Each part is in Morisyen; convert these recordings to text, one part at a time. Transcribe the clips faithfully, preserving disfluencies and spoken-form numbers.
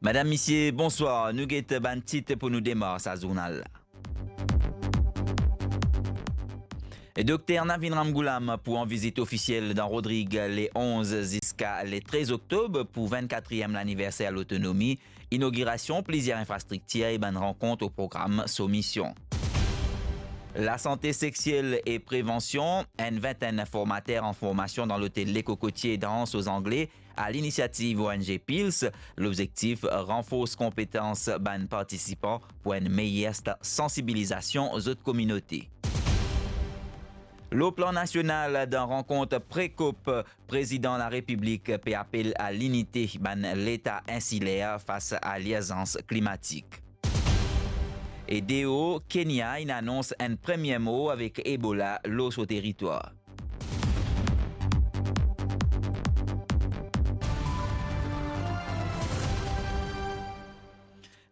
Madam, misie, bonswar. Nou get bann tit pou nou demar sa zournal la. Dokter Navin Ramgoolam pou an vizit ofisiel dan Rodrig le onz ziska le trez oktob pou vennkatriem laniverser lotonomi, inogirasion plizier infrastriktir e bann rankont o program so mision. Lasante sexiel e prevansion, enn vintenn formater an formasion dan lotel Le Cocotier dan Anse aux Anglais, a linisiativ O N G Pils, lobzektif ranfors konpetans bann partisipan pou enn meyer sta-, sansibilizasion zot kominote. Lor plan nasional, dan rankont pre-COP, Prezidan Larepiblik pe apel a linite bann leta insiler fas a lirzans klimatik. E deor, Kenya inn anons enn premie mor avek Ebola lor so teritwar.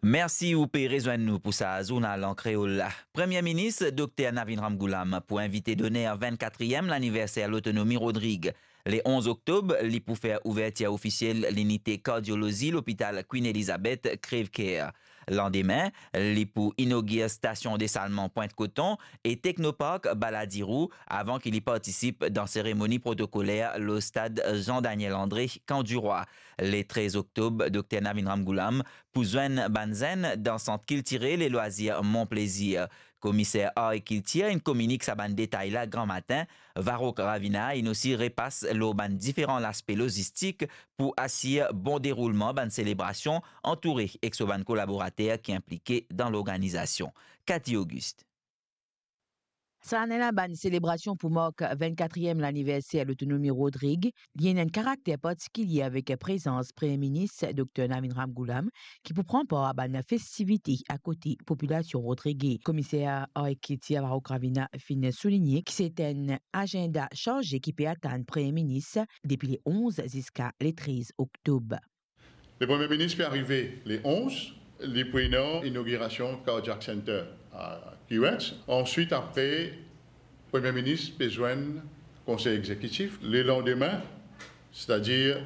Mersi ou pe rezwenn nou pou sa zournal an kreol la. Premie Minis Dokter Navin Ramgoolam pou invite doner vennkatriem laniverser lotonomi Rodrig. Le onz oktob, li pou fer ouvertir ofisiel linite kardiolozi lopital Queen Elizabeth Crèvecoeur. Landime, li pou inogir stasion desalman Pointe Coton e Technopark Balladirou avan ki li partisip dan seremoni protokoler lor stad Jean Daniel André, Camp du Roi. Le trez oktob, Dokter Navin Ramgoolam pou zwenn bann zenn dan Sant Kiltirel e Lwazir Mon Plaisir. Komiser Ar e Kiltir inn kominik sa bann detay la gramatin. Varrokh Ravina inn osi repas lor bann diferan laspe lozistik pou asir bon deroulman bann selebrasion, antoure ek so bann kolaborater ki inplike dan lorganizasion. Cathy Auguste. Sa ane la, bann selebrasion pou mark vennkatriem laniverser lotonomi Rodrig, li ena enn karakter partikilie avek prezans Premie Minis Dokter Navin Ramgoolam, ki pou pran par a bann festivite akote popilasion rodrige. Komiser Ar e Kiltir Varrokh Ravina finn souligne ki se enn azenda sarze ki pe atann Premie Minis depi le onz ziska le trez oktob. Le Premie Minis pe arive le onz, li pou ena inogirasion Cardiac Center a Keyworth. Answit, apre, Premie Minis pe zwenn Konsey Egzekitif. Le landime, setadir